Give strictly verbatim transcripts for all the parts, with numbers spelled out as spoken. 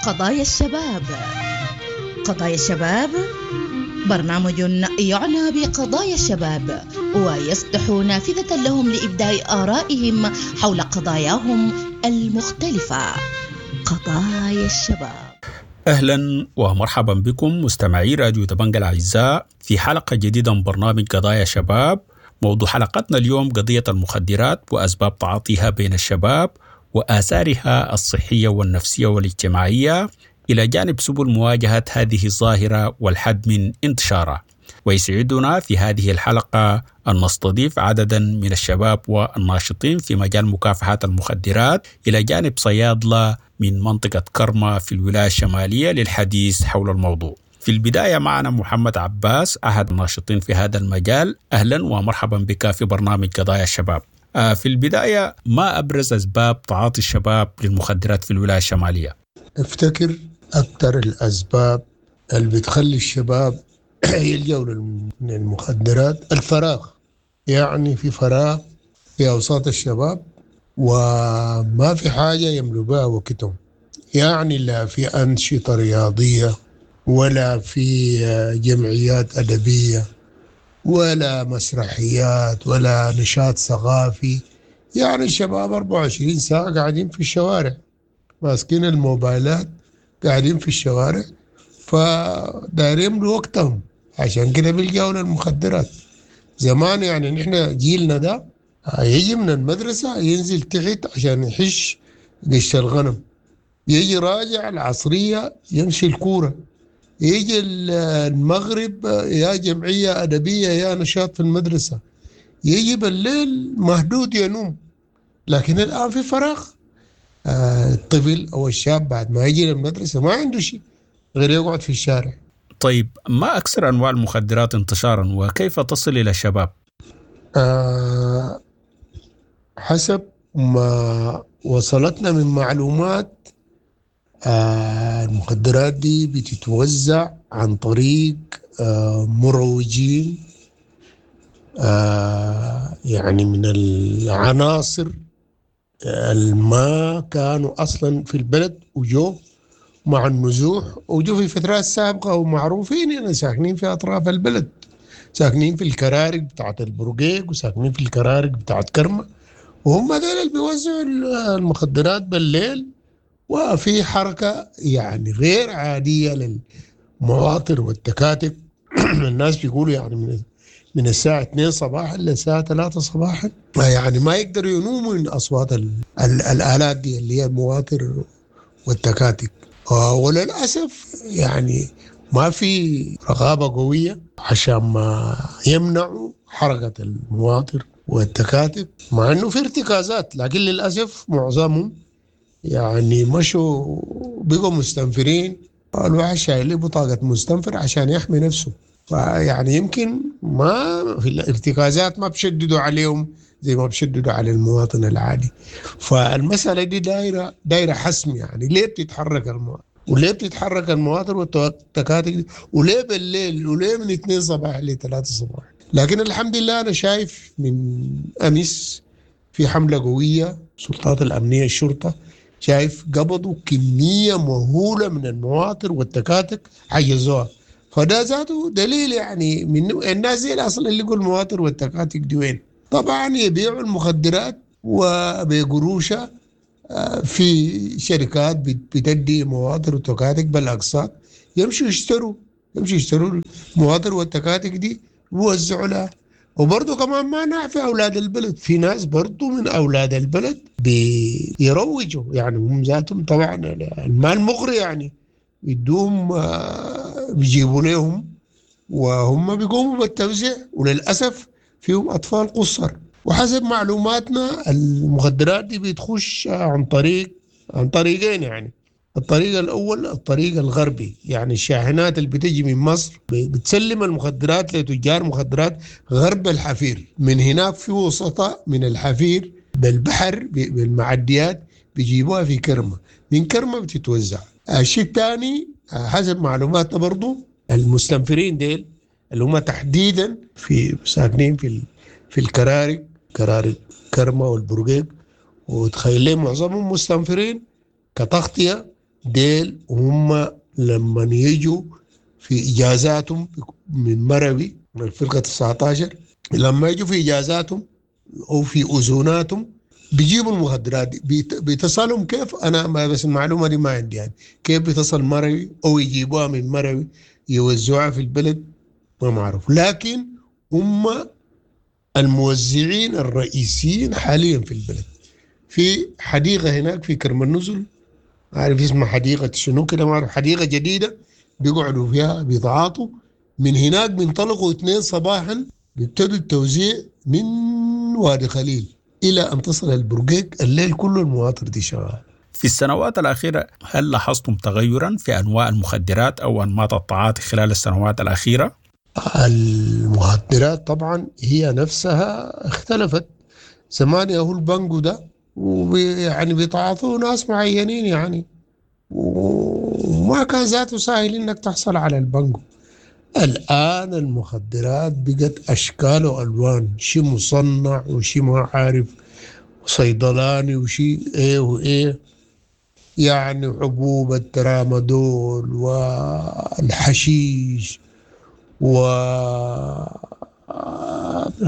قضايا الشباب. قضايا الشباب برنامج يعنى بقضايا الشباب ويفتح نافذة لهم لإبداء آرائهم حول قضاياهم المختلفة. قضايا الشباب. أهلا ومرحبا بكم مستمعي راديو دبنجة الأعزاء في حلقة جديدة من برنامج قضايا شباب. موضوع حلقتنا اليوم قضية المخدرات وأسباب تعاطيها بين الشباب وآثارها الصحية والنفسية والاجتماعية، إلى جانب سبل مواجهة هذه الظاهرة والحد من انتشارها. ويسعدنا في هذه الحلقة أن نستضيف عددا من الشباب والناشطين في مجال مكافحة المخدرات، إلى جانب صيادلة من منطقة كرمة في الولاية الشمالية للحديث حول الموضوع. في البداية معنا محمد عباس، أحد الناشطين في هذا المجال. أهلا ومرحبا بك في برنامج قضايا الشباب. في البداية، ما أبرز أسباب تعاطي الشباب للمخدرات في الولاية الشمالية؟ افتكر أكثر الأسباب اللي بتخلي الشباب يلجأوا للمخدرات الفراغ. يعني في فراغ في أوساط الشباب وما في حاجة يملوا بها وقتهم، يعني لا في أنشطة رياضية ولا في جمعيات أدبية ولا مسرحيات ولا نشاط ثقافي. يعني الشباب أربعة وعشرين ساعة قاعدين في الشوارع، ماسكين الموبايلات، قاعدين في الشوارع، فدايرين يملوا وقتهم، عشان كده بيلجأوا للمخدرات. زمان يعني نحن جيلنا ده يجي من المدرسة ينزل تحت عشان يحش قش الغنم، يجي راجع العصرية يمشي الكورة، يجي المغرب يا جمعية أدبية يا نشاط في المدرسة، يجي بالليل مهدود ينوم. لكن الآن في فراغ، الطفل أو الشاب بعد ما يجي للمدرسة ما عنده شيء غير يقعد في الشارع. طيب، ما أكثر أنواع المخدرات انتشارا وكيف تصل إلى الشباب؟ أه حسب ما وصلتنا من معلومات، آه المخدرات دي بتتوزع عن طريق آه مروجين، آه يعني من العناصر الما كانوا أصلا في البلد وجو مع النزوح، وجو في فترات سابقة ومعروفين، يعني ساكنين في أطراف البلد، ساكنين في الكرارك بتاعت البرقيق وساكنين في الكرارك بتاعت كرمة، وهم دول اللي بيوزعوا المخدرات بالليل. وفي حركة يعني غير عادية للمواطر والتكاتك. الناس بيقولوا يعني من من الساعة اثنين صباحا للساعة ثلاثة صباحا، يعني ما يقدروا ينوموا من أصوات ال ال الآلات دي اللي هي المواطر والتكاتك. وللأسف يعني ما في رقابة قوية عشان ما يمنعوا حركة المواطر والتكاتك، مع أنه في ارتكازات، لكن للأسف معظمهم يعني مشوا بقوا مستنفرين. الواحد شايل بطاقة مستنفر عشان يحمي نفسه، فيعني يمكن ما في الارتكازات ما بشددوا عليهم زي ما بشددوا على المواطن العادي. فالمسألة دي دايرة دايرة حسم، يعني ليه بتتحرك المواطن وليه بتتحرك المواطن والتكاتك وليه بالليل وليه من اثنين صباح لثلاثة صباح. لكن الحمد لله أنا شايف من أمس في حملة قوية، السلطات الأمنية الشرطة شايف قبضوا كمية مهولة من المواطر والتكاتك حجزوها، فده ذاته دليل يعني من الناس دي أصلا اللي يقول المواطر والتكاتك دي وين. طبعا يبيعوا المخدرات وبقروشة في شركات بتدي مواطر وتكاتك بالأقساط، يمشوا يشتروا يمشوا يشتروا المواطر والتكاتك دي ويوزعوا لها. وبرضه كمان ما نعفي أولاد البلد، في ناس برضه من أولاد البلد بيروجوا، يعني هم ذاتهم طبعا المال مغري، يعني يدوهم بيجيبوا لهم وهم بيقوموا بالتوزيع، وللأسف فيهم أطفال قصر. وحسب معلوماتنا المخدرات دي بتخش عن طريق عن طريقين، يعني الطريق الأول الطريق الغربي، يعني الشاحنات اللي بتجي من مصر بتسلم المخدرات لتجار مخدرات غرب الحفير، من هناك في وسطاء من الحفير بالبحر بالمعديات بيجيبوها في كرمة، من كرمة بتتوزع. الشيء الثاني حسب معلوماتنا برضو المستنفرين ديل اللي هم تحديدا في ساكنين في في الكرارك، كرارك كرمة والبرقيق، وتخيل معظمهم مستنفرين كتغطية ديل هم لما يجوا في إجازاتهم من مروي من الفرقة تسعة عشر، لما يجوا في إجازاتهم أو في أذوناتهم بيجيبوا المخدرات دي. بيتصلهم كيف؟ أنا ما بس المعلومة دي ما عندي، يعني كيف بيتصل مروي أو يجيبوها من مروي يوزعوها في البلد ما معروف. لكن هم الموزعين الرئيسيين حاليا في البلد. في حديقة هناك في كرم النزل، عارف اسمها حديقة شنو كده ما أعرف، حديقة جديدة بيقعدوا فيها بيتعاطوا من هناك. بينطلقوا اثنين صباحا بيبتدوا التوزيع من وادي خليل إلى أن تصل البرقيق، الليل كله المواطر دي شغالة. في السنوات الأخيرة هل لاحظتم تغيرا في أنواع المخدرات أو أنماط التعاطي خلال السنوات الأخيرة؟ المخدرات طبعا هي نفسها اختلفت. زمان ياهو البنجو ده ويعني بيتعاطوه ناس معينين يعني، وما كان ذاته سهل انك تحصل على البنجو. الآن المخدرات بقت أشكال وألوان، شيء مصنع وشيء ما عارف صيدلاني وشيء إيه وإيه، يعني حبوب الترامادول والحشيش و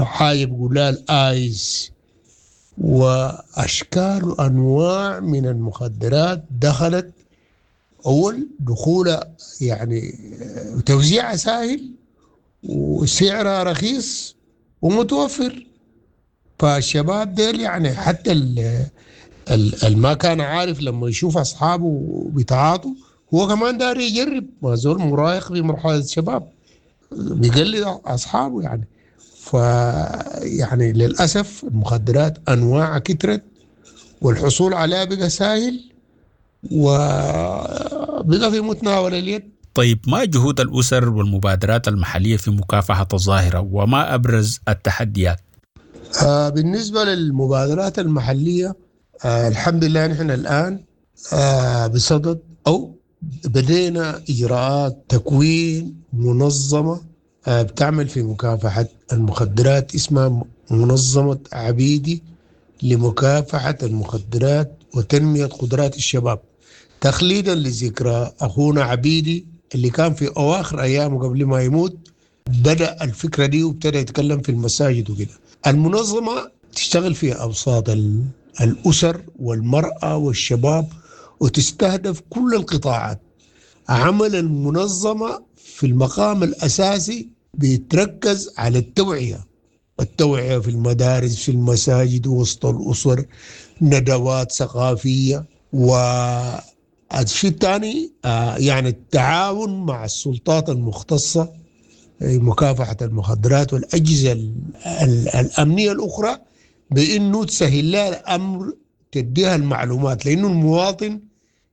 حاجة بيقولها الآيس، وأشكال وأنواع من المخدرات دخلت. أول دخولها يعني توزيعها سهل وسعرها رخيص ومتوفر. فالشباب ديل يعني حتى ال ما كان عارف لما يشوف أصحابه بيتعاطوا هو كمان داري يجرب، ما زول مراهق في مرحلة الشباب بيقلد أصحابه يعني. ف يعني للأسف المخدرات أنواعها كترت والحصول عليها بقى سهل وبقى في متناول اليد. طيب، ما جهود الأسر والمبادرات المحلية في مكافحة الظاهرة وما أبرز التحديات؟ آه بالنسبة للمبادرات المحلية، آه الحمد لله نحن الآن آه بصدد أو بدينا إجراءات تكوين منظمة آه بتعمل في مكافحة المخدرات، اسمها منظمة عبيدي لمكافحة المخدرات وتنمية قدرات الشباب، تخليدا لذكرى أخونا عبيدي اللي كان في أواخر أيامه قبل ما يموت بدأ الفكرة دي وابتدى يتكلم في المساجد وكده. المنظمة تشتغل في أوساط الأسر والمرأة والشباب وتستهدف كل القطاعات. عمل المنظمة في المقام الأساسي بيتركز على التوعية، التوعية في المدارس، في المساجد، وسط الأسر، ندوات ثقافية. والشيء الثاني يعني التعاون مع السلطات المختصة مكافحة المخدرات والأجهزة الأمنية الأخرى بأنه تسهل لها الأمر، تديها المعلومات، لأنه المواطن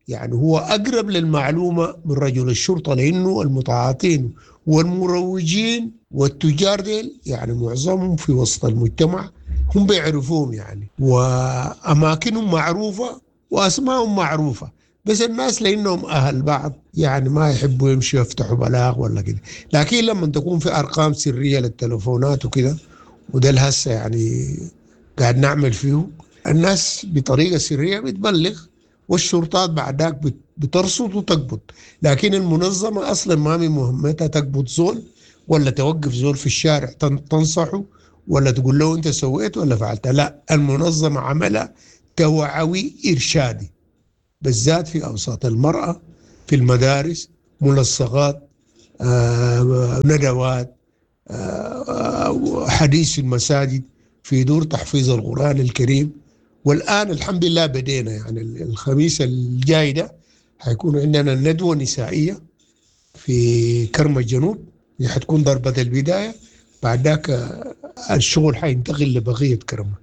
يعني هو أقرب للمعلومة من رجل الشرطة، لأنه المتعاطين والمروجين والتجار ديل يعني معظمهم في وسط المجتمع هم بيعرفوهم يعني، وأماكنهم معروفة وأسمائهم معروفة، بس الناس لأنهم أهل بعض يعني ما يحبوا يمشوا يفتحوا بلاغ ولا كده. لكن لما تكون في أرقام سرية للتلفونات وكده، وده الهسه يعني قاعد نعمل فيه، الناس بطريقة سرية بتبلغ والشرطات بعدك بترصد وتقبض. لكن المنظمة أصلا ما من مهمتها تقبض زول ولا توقف زول في الشارع تنصحه ولا تقول له أنت سويت ولا فعلت. لا، المنظمة عملها توعوي إرشادي، بالذات في أوساط المرأة، في المدارس، ملصقات، آه، ندوات، آه، حديث في المساجد، في دور تحفيظ القرآن الكريم. والآن الحمد لله بدينا يعني الخميس الجاي ده حيكون عندنا ندوة نسائية في كرم الجنوب، دي حتكون ضربة البداية، بعد ذاك الشغل حينتقل لبقية كرمة.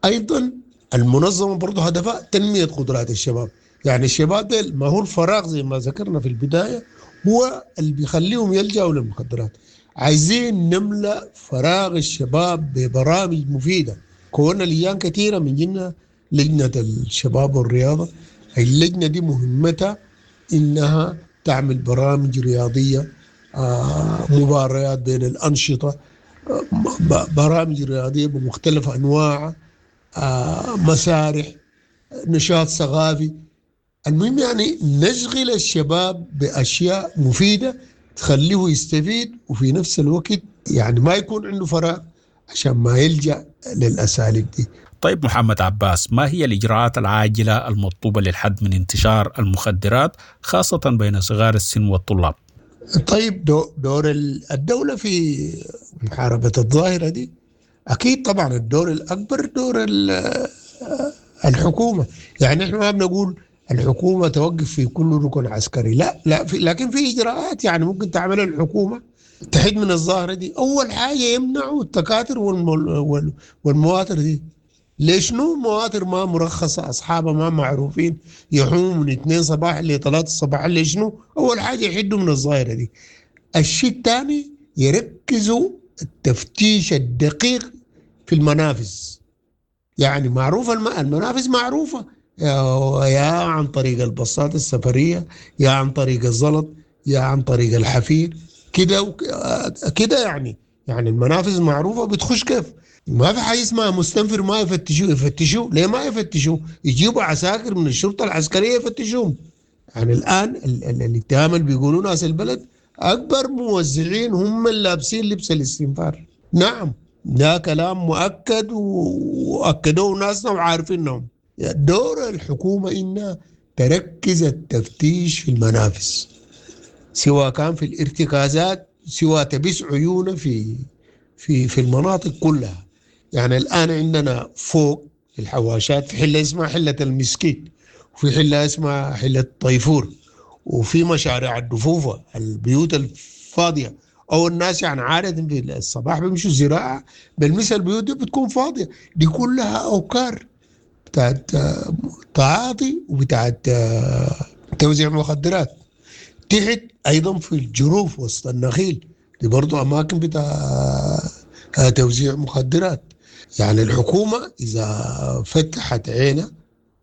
أيضا المنظمة برضه هدفها تنمية قدرات الشباب، يعني الشباب ده ما هو الفراغ زي ما ذكرنا في البداية هو اللي بيخليهم يلجأوا للمخدرات. عايزين نملأ فراغ الشباب ببرامج مفيدة. كونا لجان كثيرة من جنة لجنة الشباب والرياضة، اللجنة دي مهمتها إنها تعمل برامج رياضية، آه، مباريات بين الأنشطة، آه، برامج رياضية بمختلف أنواعها، آه، مسارح، نشاط ثقافي. المهم يعني نشغل الشباب بأشياء مفيدة تخليه يستفيد، وفي نفس الوقت يعني ما يكون عنده فراغ عشان ما يلجأ للأساليب دي. طيب محمد عباس، ما هي الإجراءات العاجلة المطلوبة للحد من انتشار المخدرات خاصة بين صغار السن والطلاب؟ طيب دور الدولة في محاربة الظاهرة دي أكيد طبعا الدور الأكبر دور الحكومة. يعني إحنا ما بنقول الحكومة توقف في كل ركن عسكري، لا لا في، لكن في إجراءات يعني ممكن تعملها الحكومة تحد من الظاهرة دي. أول حاجة يمنعوا التكاتر والمواتر دي. ليش نو مواتر ما مرخصة، أصحابها ما معروفين، يحوموا من اثنين صباح لثلاثة الصباح، ليش نو؟ أول حاجة يحدوا من الظاهرة دي. الشيء الثاني يركزوا التفتيش الدقيق في المنافذ. يعني معروفة المنافذ معروفة، يا عن طريق الباصات السفرية، يا عن طريق الزلط، يا عن طريق الحفير كده كده. يعني يعني المنافذ معروفة، بتخش كيف؟ ما في حاجة اسمها مستنفر ما يفتشوه. يفتشوه ليه ما يفتشوه؟ يجيبوا عساكر من الشرطة العسكرية يفتشوهم. يعني الآن الاتهام اللي بيقولوا ناس البلد أكبر موزعين هم اللي لابسين لبس الاستنفار. نعم ده كلام مؤكد وأكدوه ناسنا وعارفينهم. دور الحكومة إنها تركز التفتيش في المنافذ، سواء كان في الارتكازات، سواء تبس عيونه في في في المناطق كلها. يعني الآن عندنا فوق في الحواشات في حلة اسمها حلة المسكيت، وفي حلة اسمها حلة طيفور، وفي مشاريع الدفوفة، البيوت الفاضية أو الناس يعني عادة في الصباح بيمشوا زراعة بالمثل البيوت دي بتكون فاضية، دي كلها أوكار بتاعت تعاطي وبتاعت توزيع مخدرات. تحت أيضا في الجروف وسط النخيل دي برضو أماكن بتاع توزيع مخدرات. يعني الحكومة إذا فتحت عينها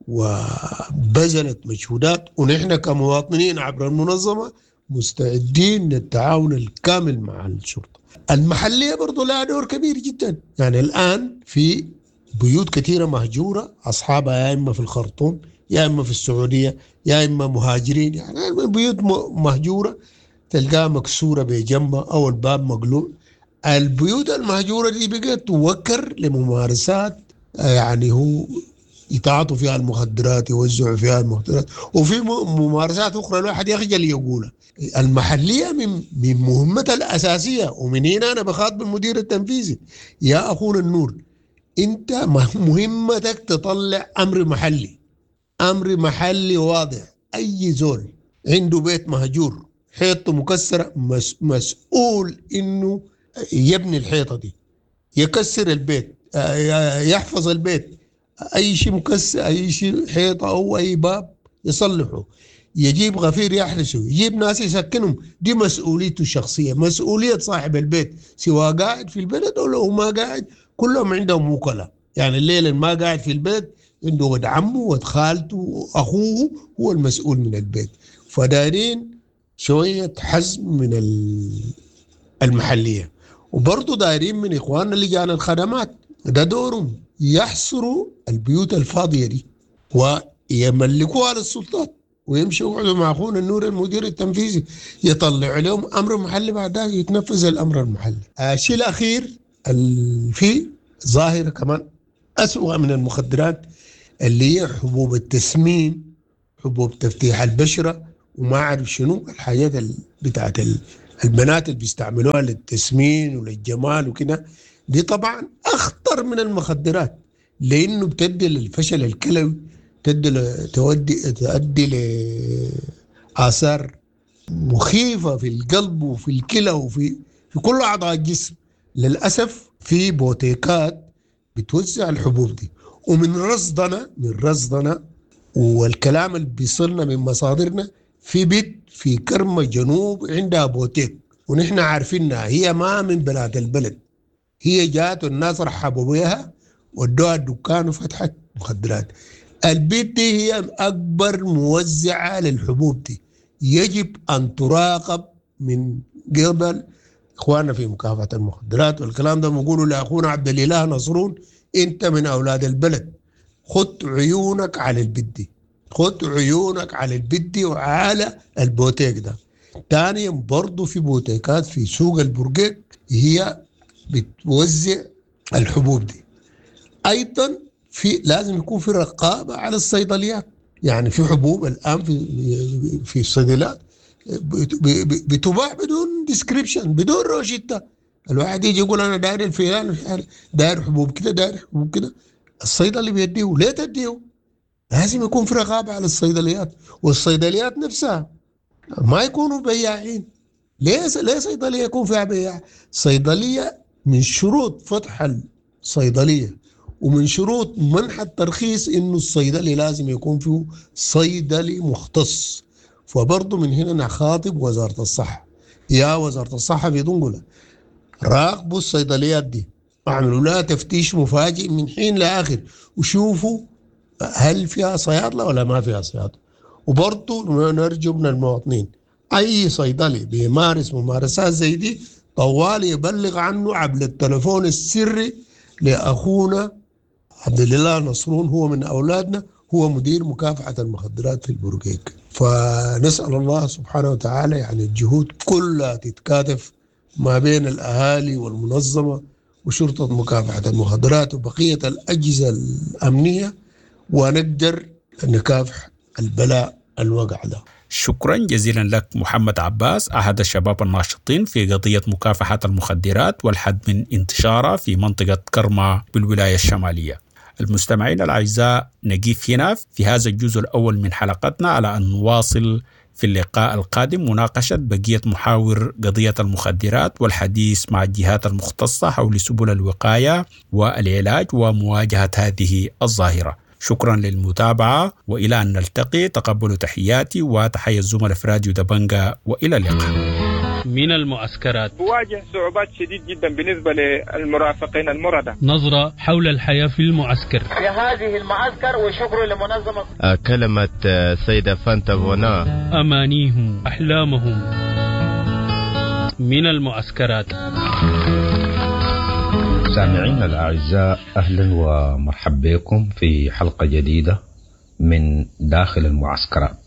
وبذلت مجهودات، ونحن كمواطنين عبر المنظمة مستعدين للتعاون الكامل مع الشرطة المحلية، برضو لها دور كبير جدا. يعني الآن في بيوت كثيرة مهجورة، أصحابها يا إما في الخرطوم يا إما في السعودية يا إما مهاجرين. يعني بيوت مهجورة تلقاها مكسورة بجنبها أو الباب مقلوع. البيوت المهجورة دي بقت توكر لممارسات يعني هو يتعاطوا فيها المخدرات، يوزعوا فيها المخدرات، وفي ممارسات أخرى الواحد يخجل يقولها. المحلية من من مهمتها الأساسية، ومن هنا أنا بخاطب المدير التنفيذي، يا أخونا النور، أنت مهمتك تطلع أمر محلي، أمر محلي واضح. أي زول عنده بيت مهجور حيطته مكسرة مسؤول إنه يبني الحيطة دي، يكسر البيت، يحفظ البيت، أي شيء مكسر، أي شيء حيطة أو أي باب يصلحه، يجيب غفير يحرسه، يجيب ناس يسكنهم. دي مسؤوليته الشخصية، مسؤولية صاحب البيت، سواء قاعد في البلد أو لو ما قاعد، كلهم عندهم وكلاء. يعني الليل ما قاعد في البيت عنده ود عمه ود خالته وأخوه هو المسؤول من البيت. فدايرين شوية حزم من المحلية، وبرضه دايرين من إخواننا لجان الخدمات، ده دورهم، يحصروا البيوت الفاضية دي ويملكوها للسلطات، ويمشوا يقعدوا مع أخونا النور المدير التنفيذي يطلع لهم أمر محلي، بعدها يتنفذ الأمر المحلي. الشيء الأخير في ظاهرة كمان أسوأ من المخدرات اللي هي حبوب التسمين، حبوب تفتيح البشرة، وما أعرف شنو الحاجات بتاعت البنات اللي بيستعملوها للتسمين وللجمال وكده. دي طبعا أخطر من المخدرات، لأنه بتدي للفشل الكلوي، تدي تودي تؤدي لآثار مخيفة في القلب وفي الكلى وفي في كل أعضاء الجسم. للأسف في بوتيكات بتوزع الحبوب دي، ومن رصدنا من رصدنا والكلام اللي بيصلنا من مصادرنا، في بيت في كرمة جنوب عندها بوتيك، ونحن عارفينها، هي ما من بلاد البلد، هي جات والناس رحبوا بها ودوها الدكان وفتحت مخدرات. البيت دي هي أكبر موزعة للحبوب دي، يجب أن تراقب من قبل إخواننا في مكافحة المخدرات. والكلام ده بنقوله لأخونا عبد الإله نصرون، أنت من أولاد البلد، خد عيونك على البيت دي. خد عيونك على البدي وعلى البوتيك ده. ثانيا برضه في بوتيكات في سوق البرقيق هي بتوزع الحبوب دي. ايضا في لازم يكون في رقابه على الصيدليات، يعني في حبوب الان في في الصيدليات بتباع بدون description، بدون روشته. الواحد يجي يقول انا داير الفلان، داير حبوب كده، داير حبوب كده، الصيدلي بيديه. ليه تديه؟ لازم يكون في رقابه على الصيدليات، والصيدليات نفسها ما يكونوا بياعين. ليه ليه صيدلية يكون فيها بياع؟ صيدلية من شروط فتح الصيدلية ومن شروط منح الترخيص انه الصيدلي لازم يكون فيه صيدلي مختص. فبرضه من هنا نخاطب وزارة الصحة، يا وزارة الصحة في دنقله راقبوا الصيدليات دي، اعملوا لها تفتيش مفاجئ من حين لاخر وشوفوا هل فيها صيادله ولا ما فيها صيادله. وبرضه نرجو من المواطنين اي صيدلي بيمارس ممارسات زي دي طوال يبلغ عنه عبر التلفون السري لاخونا عبد الله نصرون، هو من اولادنا، هو مدير مكافحة المخدرات في البرقيق. فنسال الله سبحانه وتعالى يعني الجهود كلها تتكاتف ما بين الاهالي والمنظمه وشرطه مكافحة المخدرات وبقية الاجهزة الامنية، ونقدر نكافح البلاء الوقع ده. شكرا جزيلا لك محمد عباس، أحد الشباب الناشطين في قضية مكافحة المخدرات والحد من انتشارها في منطقة كرمة بالولاية الشمالية. المستمعين الأعزاء، نقف هنا في هذا الجزء الأول من حلقتنا على أن نواصل في اللقاء القادم مناقشة بقية محاور قضية المخدرات والحديث مع الجهات المختصة حول سبل الوقاية والعلاج ومواجهة هذه الظاهرة. شكرا للمتابعة، وإلى أن نلتقي تقبلوا تحياتي وتحية الزملاء في راديو دبنجا، وإلى اللقاء. من المعسكرات بواجه صعوبات شديد جدا بالنسبة للمرافقين المرضى. نظرة حول الحياة في المعسكر في هذه المعسكر، وشكر لمنظمة كلمة سيدة فانتا فونا. أمانيهم، أحلامهم. من المعسكرات. سامعينا الأعزاء، أهلا ومرحبا بكم في حلقة جديدة من داخل المعسكرات.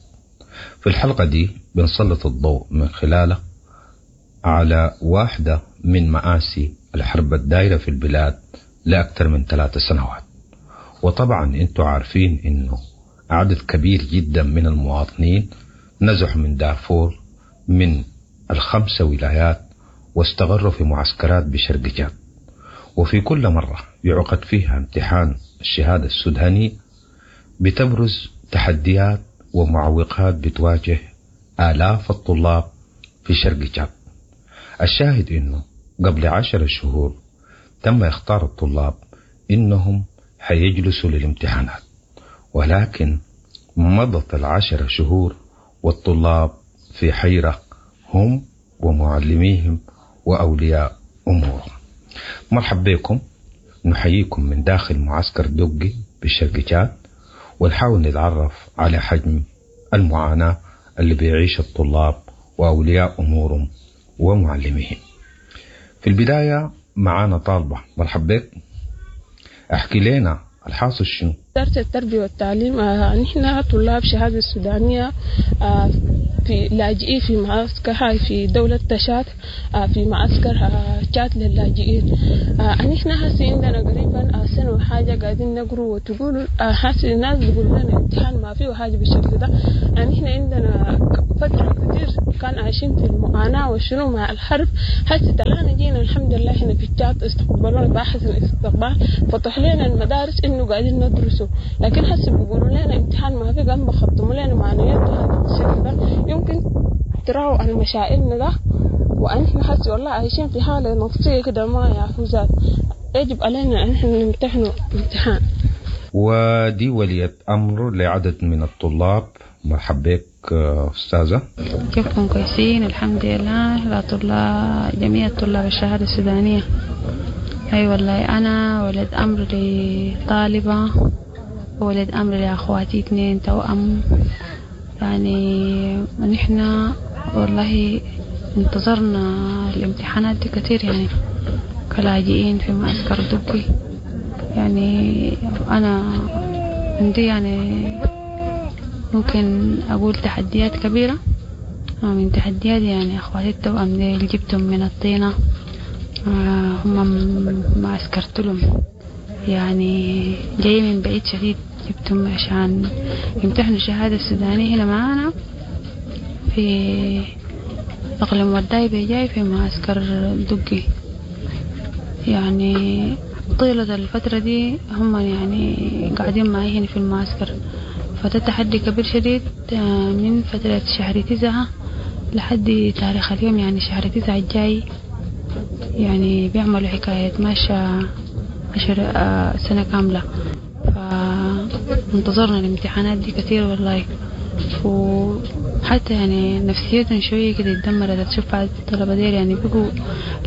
في الحلقة دي بنسلط الضوء من خلالها على واحدة من مآسي الحرب الدائرة في البلاد لأكثر من ثلاث سنوات. وطبعا انتم عارفين انه عدد كبير جدا من المواطنين نزحوا من دارفور من الخمسة ولايات واستقروا في معسكرات بشرق جاد. وفي كل مرة يعقد فيها امتحان الشهادة السوداني بتبرز تحديات ومعوقات بتواجه آلاف الطلاب في شرق جاد. الشاهد إنه قبل عشر شهور تم اختار الطلاب إنهم حيجلسوا للامتحانات، ولكن مضت العشر شهور والطلاب في حيرة، هم ومعلميهم وأولياء أمورهم. مرحب بكم، نحييكم من داخل معسكر دقي بالشرق جاد، ونحاول نتعرف على حجم المعاناة اللي بيعيش الطلاب وأولياء أمورهم ومعلميهم. في البداية معانا طالبة، مرحب بك، احكي لنا الحاصل شنو؟ وزارة التربية والتعليم، آه نحن طلاب شهادة السودانية آه في لاجئين في معسكر هاي في دولة تشاد، آه في معسكر آه تشاد للاجئين. آه نحن هسي عندنا قريبا آه سنة وحاجة قاعدين نقروا وتقولوا آه هسي الناس بيقولوا لنا امتحان ما فيه حاجة بالشكل ده. آه نحن عندنا فترة كتير كان عايشين في المعاناة وشنو مع الحرب. هسي طلعنا جينا الحمد لله هنا في تشاد استقبلونا بأحسن استقبال، فتح لنا المدارس إنه قاعدين ندرسوا، لكن هسي بيقولوا لنا امتحان ما في، قام بخطموا لنا معنويات بهذا الشكل ده. يمكن تراوا عن مشاعرنا ده، وأنحن حسي والله عايشين في حالة نفسية كده ما يعرفوا. يجب علينا أن احنا نمتحنوا امتحان. ودي ولية أمر لعدد من الطلاب. مرحب بك أستاذة. كيفكم؟ كويسين الحمد لله. لا طلاب، جميع طلاب الشهادة السودانية. أي والله أنا ولد أمر لطالبة وولد أمر لأخواتي اثنين توأم. يعني نحن والله انتظرنا الامتحانات دي كتير، يعني كلاجئين في معسكر دقي. يعني أنا عندي يعني ممكن أقول تحديات كبيرة. من تحديات يعني أخواتي التوأم ديل جبتهم من الطينة، هم معسكرت لهم يعني جاي من بعيد شديد، جبتهم عشان يمتحنوا الشهادة السودانية هنا معانا في إقليم ورداي بجاي في معسكر دقي. يعني طيلة الفترة دي هم يعني قاعدين معي هنا في المعسكر، فده تحدي كبير شديد من فترة شهر تسعة لحد تاريخ اليوم، يعني شهر تسعة الجاي يعني بيعملوا حكاية ماشية عشر سنة كاملة. فانتظرنا الامتحانات دي كثير والله، وحتى يعني نفسيتهم شوية كده اتدمرت. تشوف بعض الطلبة ديل يعني بيقوا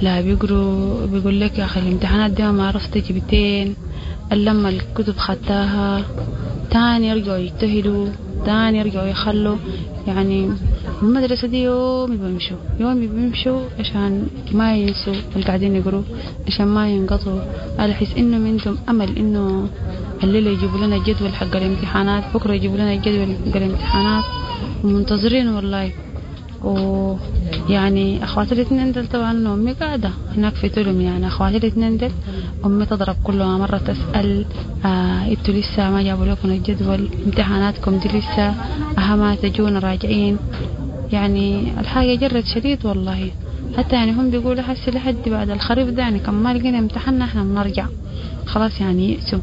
لا بيقروا، بيقول لك يا أخي الامتحانات دي ما عرفت جبتين، لما الكتب خدتها تاني يرجعوا يجتهدوا، تاني يرجعوا يخلوا. يعني المدرسة دي يوم بيمشوا يوم بيمشوا عشان ما ينسوا اللي قاعدين يقروا، عشان ما ينقطوا، على حس إنه عندهم أمل إنه الليلة يجيبوا لنا الجدول حق الامتحانات، بكرة يجيبوا لنا الجدول حق الامتحانات، ومنتظرين والله. ويعني أخواتي الاثنين دل طبعا أمي قاعدة هناك في تلم، يعني أخواتي الاثنين دل أمي تضرب كل مرة تسأل آه انتوا لسه ما جابوا لكم الجدول، امتحاناتكم دي لسه، أها تجونا راجعين. يعني الحاجة جرت شديد والله، حتى يعني هم بيقولوا حسي لحد بعد الخريف ده يعني كم ما لقينا امتحاننا احنا بنرجع خلاص، يعني يأسوا.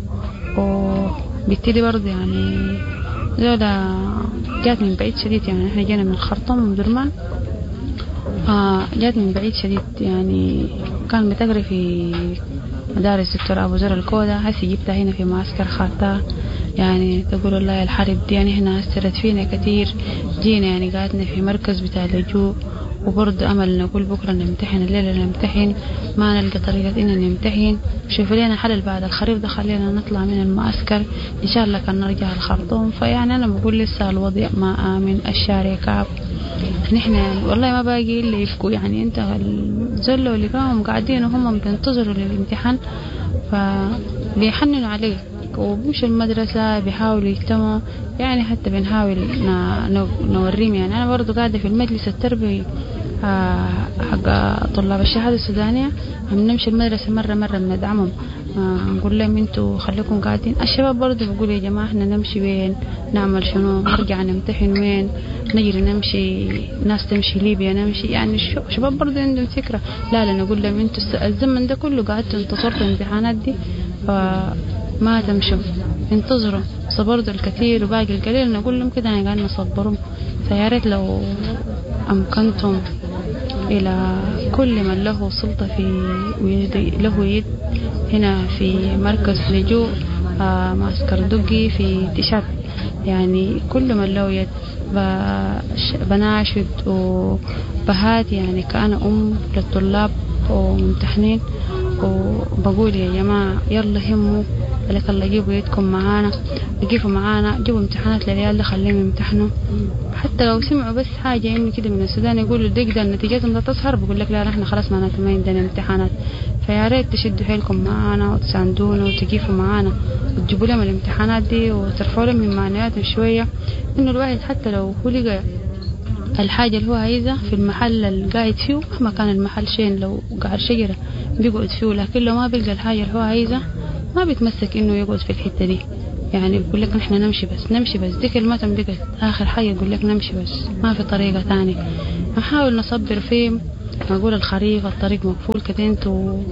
وبالتالي برضه يعني زولا جات من بعيد شديد، يعني احنا جينا من الخرطوم ومن درمان، آه جات من بعيد شديد، يعني كان بتقري في مدارس دكتور أبو زر الكودة، هسي جبتها هنا في معسكر خاتها. يعني تقول والله الحرب دي يعني هنا أثرت فينا كثير، جينا يعني قعدنا في مركز بتاع اللجوء، وبرضه أمل نقول بكرة نمتحن، الليلة نمتحن، ما نلقى طريقة إننا نمتحن، شوفوا لنا حل بعد الخريف ده خلينا نطلع من المعسكر إن شاء الله كان نرجع الخرطوم. فيعني أنا بقول لسه الوضع ما آمن، الشارع كعب، نحن يعني والله ما باقي إلا يبكوا، يعني أنت الزلة اللي كانوا قاعدين وهم بينتظروا للامتحان فبيحننوا عليك، وبيمشوا المدرسة بيحاولوا يجتمعوا، يعني حتى بنحاول نوريهم. يعني أنا برضو قاعدة في المجلس التربوي حق طلاب الشهادة السودانية، عم نمشي المدرسة مرة مرة بندعمهم، نقول لهم انتوا خليكم قاعدين. الشباب برضو بيقولوا يا جماعة احنا نمشي وين، نعمل شنو، نرجع نمتحن وين، نجري نمشي، ناس تمشي ليبيا نمشي، يعني الشباب برضو عندهم فكرة. لا لا نقول لهم انتوا الزمن ده كله قعدتوا انتصرتوا الامتحانات دي، فما تمشوا، انتظروا، صبرتوا الكثير وباقي القليل، نقول لهم كده يعني قاعدين نصبرهم. فيا ريت لو أمكنتم إلى كل من له سلطة في له يد هنا في مركز لجوء معسكر دقي في تشاد، يعني كل من له يد بناشد وبهات، يعني كأنا أم للطلاب وممتحنين، وبقول يا جماعة يلا هموا لك الله، جيبوا يدكم معانا، جيبوا معانا، جيبوا امتحانات للعيال ده خليهم يمتحنوا. حتى لو سمعوا بس حاجة إنه كده من السودان يقولوا دق ده نتيجتهم ده تظهر، بقول لك لا نحن خلاص معناته ما عندنا امتحانات. فيا ريت تشدوا حيلكم معانا وتساندونا وتقيفوا معانا وتجيبوا لهم الامتحانات دي وترفعوا لهم من معنوياتهم شوية، إنه الواحد حتى لو هو لقى الحاجة اللي هو عايزها في المحل اللي قاعد فيه، مهما كان المحل شين لو قعر شجرة بيقعد فيه، لكن لو ما بيلقى الحاجة اللي هو عايزها ما بيتمسك إنه يقعد في الحتة دي. يعني بيقول لك نحن نمشي بس نمشي بس، دي كلمتهم بقت آخر حاجة، يقول لك نمشي بس ما في طريقة تانية. نحاول نصبر فيه، نقول الخريف الطريق مقفول كده، انتوا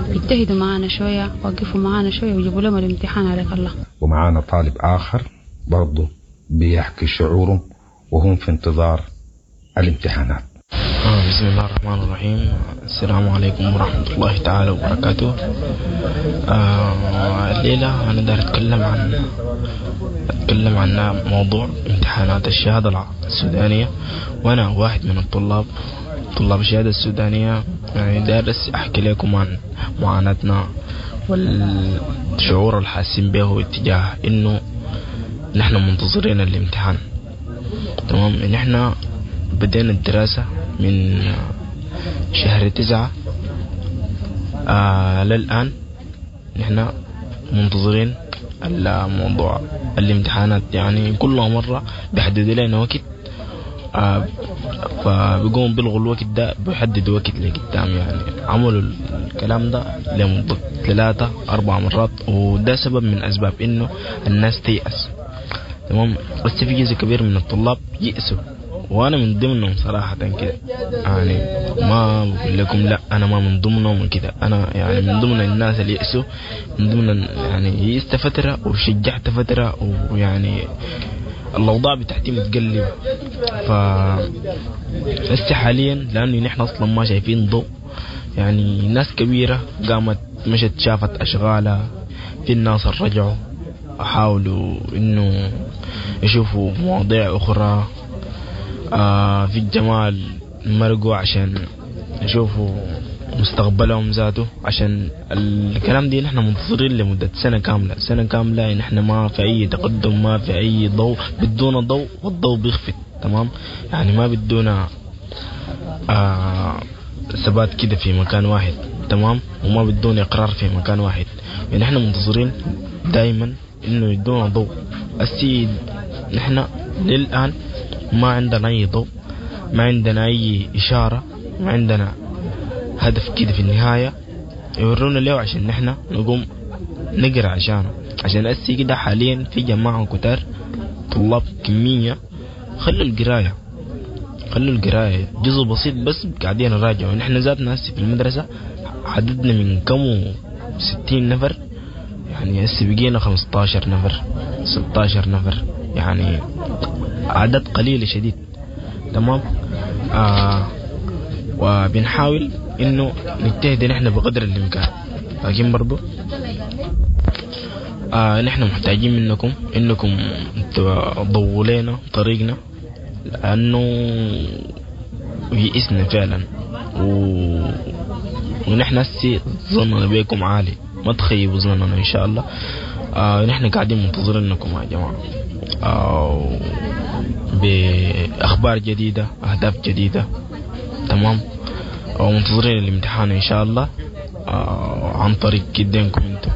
اجتهدوا معانا شوية، وقفوا معانا شوية وجيبوا لهم الامتحان عليك الله. ومعانا طالب آخر برضه بيحكي شعوره وهم في انتظار الامتحانات. آه بسم الله الرحمن الرحيم. السلام عليكم ورحمة الله تعالى وبركاته. آه الليلة أنا دار أتكلم عن أتكلم عن موضوع امتحانات الشهادة السودانية، وأنا واحد من الطلاب طلاب الشهادة السودانية. يعني دارس أحكي لكم عن معاناتنا والشعور الحاسين به اتجاه إنه نحن منتظرين الامتحان. تمام، نحن بدينا الدراسة من شهر تسعة آه للآن نحن منتظرين الموضوع الامتحانات، يعني كل مرة بيحددوا لنا وقت، آه فبيقوموا بيلغوا الوقت ده، بيحددوا وقت لقدام. يعني عملوا الكلام ده لمدة ثلاثة أربع مرات، وده سبب من أسباب إنه الناس تيأس. تمام، بس في جزء كبير من الطلاب يأسوا، وأنا من ضمنهم صراحة كده. يعني ما بقول لكم لا أنا ما من ضمنهم وكده، أنا يعني من ضمن الناس اللي يأسوا، من ضمن يعني يئست فترة وشجعت فترة، ويعني الأوضاع بتاعتي متقلبة. ف هسه حاليا لأنه نحن أصلا ما شايفين ضوء، يعني ناس كبيرة قامت مشت شافت أشغالها، في الناس رجعوا حاولوا إنه يشوفوا مواضيع أخرى، آه في الجمال مرقوا عشان يشوفوا مستقبلهم ذاته. عشان الكلام دي نحن منتظرين لمدة سنة كاملة، سنة كاملة نحن ما في أي تقدم، ما في أي ضوء، بدونا ضوء والضوء بيخفت. تمام، يعني ما بدونا آه ثبات كده في مكان واحد. تمام، وما بدونا إقرار في مكان واحد. يعني نحن منتظرين دايما إنه يدونا ضوء. السيد نحن للآن ما عندنا أي ضوء، ما عندنا أي إشارة، ما عندنا هدف كده في النهاية يورونا له عشان نحن نقوم نقرأ عشانه. عشان أسي كده حاليا في جماعة كتار طلاب كمية خلوا القراية، خلوا القراية جزء بسيط بس قاعدين نراجعوا. نحن ذاتنا هسي في المدرسة عددنا من كم ستين نفر، يعني هسي بقينا خمستاشر نفر ستاشر نفر، يعني عدد قليل شديد. تمام، آه وبنحاول انه نجتهد نحن بقدر الامكان، لكن برضو آه نحن محتاجين منكم انكم تضووا لنا طريقنا، لانه يئسنا فعلا، و... ونحن هسي ظننا بيكم عالي، ما تخيبوا ظننا ان شاء الله. آه نحن قاعدين منتظرينكم يا جماعة، آه بأخبار جديدة، أهداف جديدة. تمام، ومنتظرين الامتحان إن شاء الله آه عن طريق كدينكم انتم.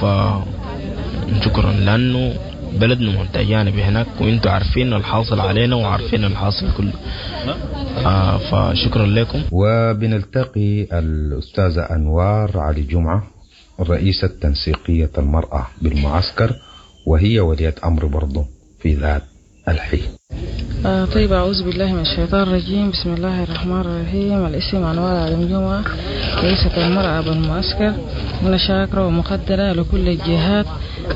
فشكرا، لأنه بلدنا محتاجانا بهناك، وانتم عارفين الحاصل علينا وعارفين الحاصل كله. آه فشكرا لكم. وبنلتقي الأستاذة أنوار علي جمعة، رئيسة تنسيقية المرأة بالمعسكر، وهي ولية أمر برضو في ذات الحين. آه طيب، أعوذ بالله من الشيطان الرجيم، بسم الله الرحمن الرحيم. الاسم أنوار علي جمعة، رئيسة المرأة بالمعسكر. أنا شاكرة ومقدرة لكل الجهات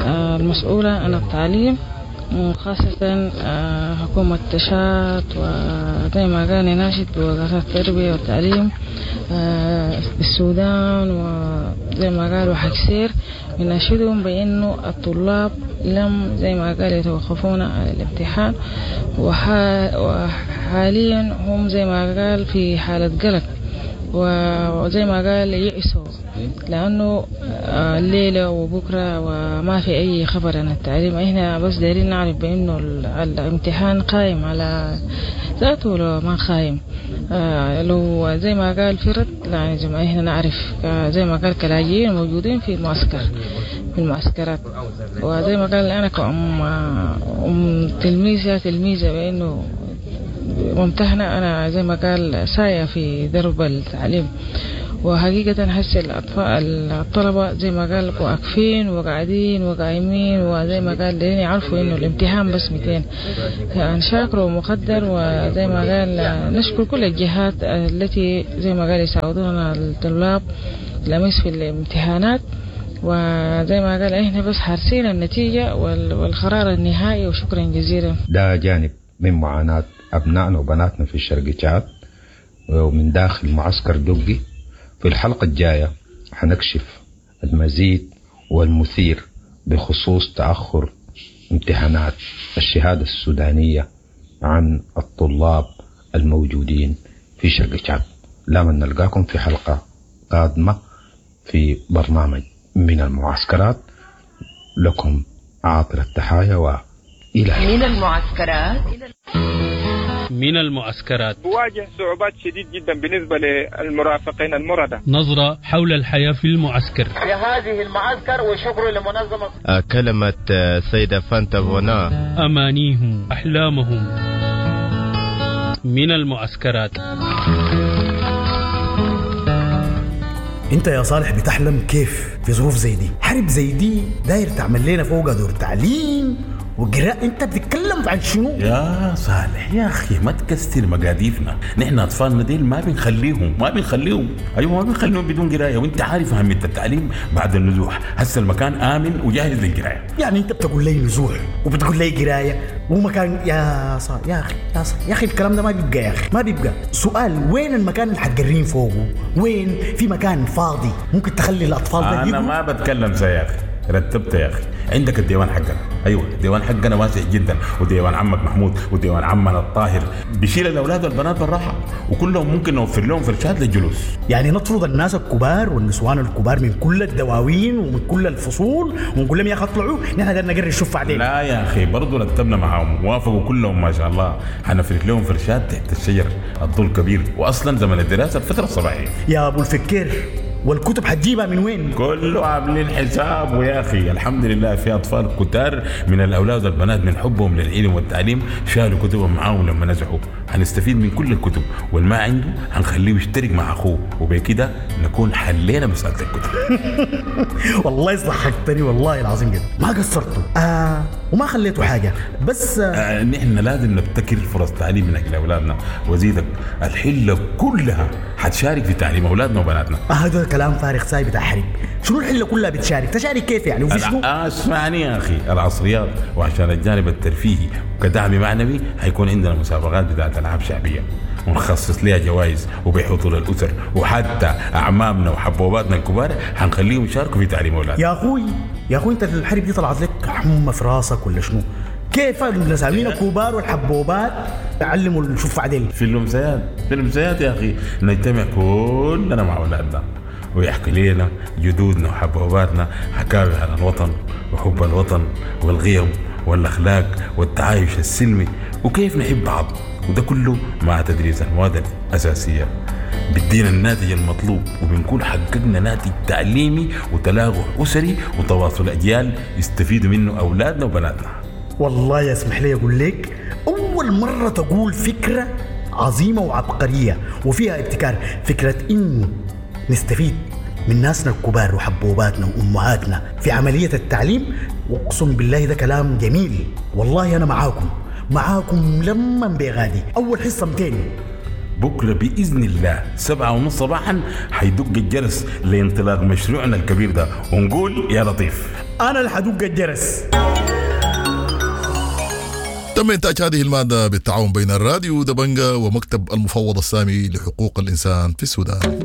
آه المسؤولة عن التعليم، وخاصة آه حكومة تشاد، وزي ما قال ناشد بوزارة التربية والتعليم آه بالسودان، وزي ما قالوا حكسير بناشدهم بأنه الطلاب لم زي ما قال يتوقفون على الامتحان، وحاليا هم زي ما قال في حالة قلق، وزي ما قال يئسوا، لأنه الليلة وبكرة وما في أي خبر عن التعليم. إحنا بس دايرين نعرف بأنه الامتحان قائم على ذاته ولا ما قائم. لو زي ما قال فرد يعني زي ما إحنا نعرف زي ما قال كلاجئين موجودين في المعسكر في المعسكرات، وزي ما قال أنا كأم أم تلميذة تلميذة بأنه ممتحنة، أنا زي ما قال سايا في درب التعليم. وحقيقة حس الأطفال الطلبة زي ما قال واقفين وقاعدين وقايمين، وزي ما قال لين يعرفوا إنه الامتحان بس مئتين. شاكر ومقدر، وزي ما قال نشكر كل الجهات التي زي ما قال يساعدونا الطلاب الأمس في الامتحانات. وزي ما قال احنا بس حارسين النتيجة والقرار النهائي، وشكرا جزيلا. ده جانب من معاناة أبنائنا وبناتنا في الشرق تشاد ومن داخل معسكر دقي. في الحلقة الجاية حنكشف المزيد والمثير بخصوص تأخر امتحانات الشهادة السودانية عن الطلاب الموجودين في شرق تشاد. لا من نلقاكم في حلقة قادمة في برنامج من المعسكرات. لكم عاطر التحايا وإلى من المعسكرات. من المعسكرات. بواجه صعوبات شديد جدا بالنسبة للمرافقين المرضى. نظرة حول الحياة في المعسكر. في هذه المعسكر وشكر لمنظمة. كلمة السيدة فانتا فونا. أمانيهم، أحلامهم. من المعسكرات. انت يا صالح بتحلم كيف في ظروف زي دي؟ حرب زي دي داير تعمل لنا فوق دور تعليم وقراءة، انت بتتكلم عن شنو؟ يا صالح يا اخي ما تكسر مقاديفنا، نحن اطفالنا ديل ما بنخليهم ما بنخليهم ايوه ما بنخليهم بدون قرايه، وانت عارف اهمية التعليم بعد النزوح، هسه المكان امن وجاهز للقرايه. يعني انت بتقول لي نزوح وبتقول لي قرايه ومكان، يا صالح يا اخي يا صالح يا اخي الكلام ده ما بيبقى يا اخي ما بيبقى. سؤال، وين المكان اللي حتقرين فوقه؟ وين في مكان فاضي ممكن تخلي الاطفال ده؟ انا ما بتكلم زي يا اخي، رتبت يا اخي. عندك الديوان حقنا، ايوه الديوان حقنا واسع جدا، وديوان عمك محمود وديوان عمنا الطاهر بيشيل الاولاد والبنات بالراحة، وكلهم ممكن نوفر لهم فرشات للجلوس. يعني نطرد الناس الكبار والنسوان الكبار من كل الدواوين ومن كل الفصول ونقول لهم يا اخي اطلعوا، نحن قدرنا نقري الشوف بعدين. لا يا اخي برضه رتبنا معاهم، وافقوا كلهم ما شاء الله. حنفرش لهم فرشات تحت الشجر، الظل كبير، واصلا زمن الدراسة الفترة الصباحية. يا ابو الفكير، والكتب حتجيبها من وين؟ كله عاملين حساب ويا اخي الحمد لله في اطفال كتار من الاولاد والبنات من حبهم للعلم والتعليم شالوا كتبهم معاهم لما نزحوا. هنستفيد من كل الكتب، والما عنده هنخليه يشترك مع اخوه، وبكده نكون حلينا مسالة الكتب. والله ضحكتني والله العظيم جدا، ما قصرتوا آه وما خليتوا حاجة. بس آه آه نحن لازم نبتكر فرص تعليم من اجل اولادنا، وزيدك الحلة كلها حتشارك في تعليم اولادنا وبناتنا. آه هذا كلام فارغ ساي بتاع حرب. شنو الحلة كلها بتشارك؟ تشارك كيف يعني؟ وفي شنو؟ آه اسمعني يا اخي، العصريات وعشان الجانب الترفيهي وكدعم معنوي حيكون عندنا مسابقات بتاعت العاب شعبية ونخصص لها جوائز وبحضور الاسر، وحتى اعمامنا وحبوباتنا الكبار حنخليهم يشاركوا في تعليم اولادنا. يا اخوي يا اخوي انت الحرب دي طلعت لك حمى في راسك ولا شنو؟ كيف النساوين الكبار والحبوبات تعلموا الشوف عدل؟ في الامسيات، في الامسيات يا اخي نجتمع كلنا مع اولادنا ويحكي لنا جدودنا وحبوباتنا حكاوي عن الوطن وحب الوطن والقيم والاخلاق والتعايش السلمي وكيف نحب بعض، وده كله مع تدريس المواد الاساسية بدينا الناتج المطلوب، وبنكون حققنا ناتج تعليمي وتلاقح اسري وتواصل اجيال يستفيدوا منه اولادنا وبناتنا. والله يسمح لي اقول لك، اول مرة تقول فكرة عظيمة وعبقريه وفيها ابتكار، فكرة انه نستفيد من ناسنا الكبار وحبوباتنا وامهاتنا في عملية التعليم. واقسم بالله ده كلام جميل، والله انا معاكم معاكم لما بغادي. اول حصة مئتين بكره باذن الله سبعة ونص صباحا حيدق الجرس لانطلاق مشروعنا الكبير ده، ونقول يا لطيف. انا اللي حدق الجرس. تم إنتاج هذه المادة بالتعاون بين الراديو دبنجا ومكتب المفوض السامي لحقوق الإنسان في السودان.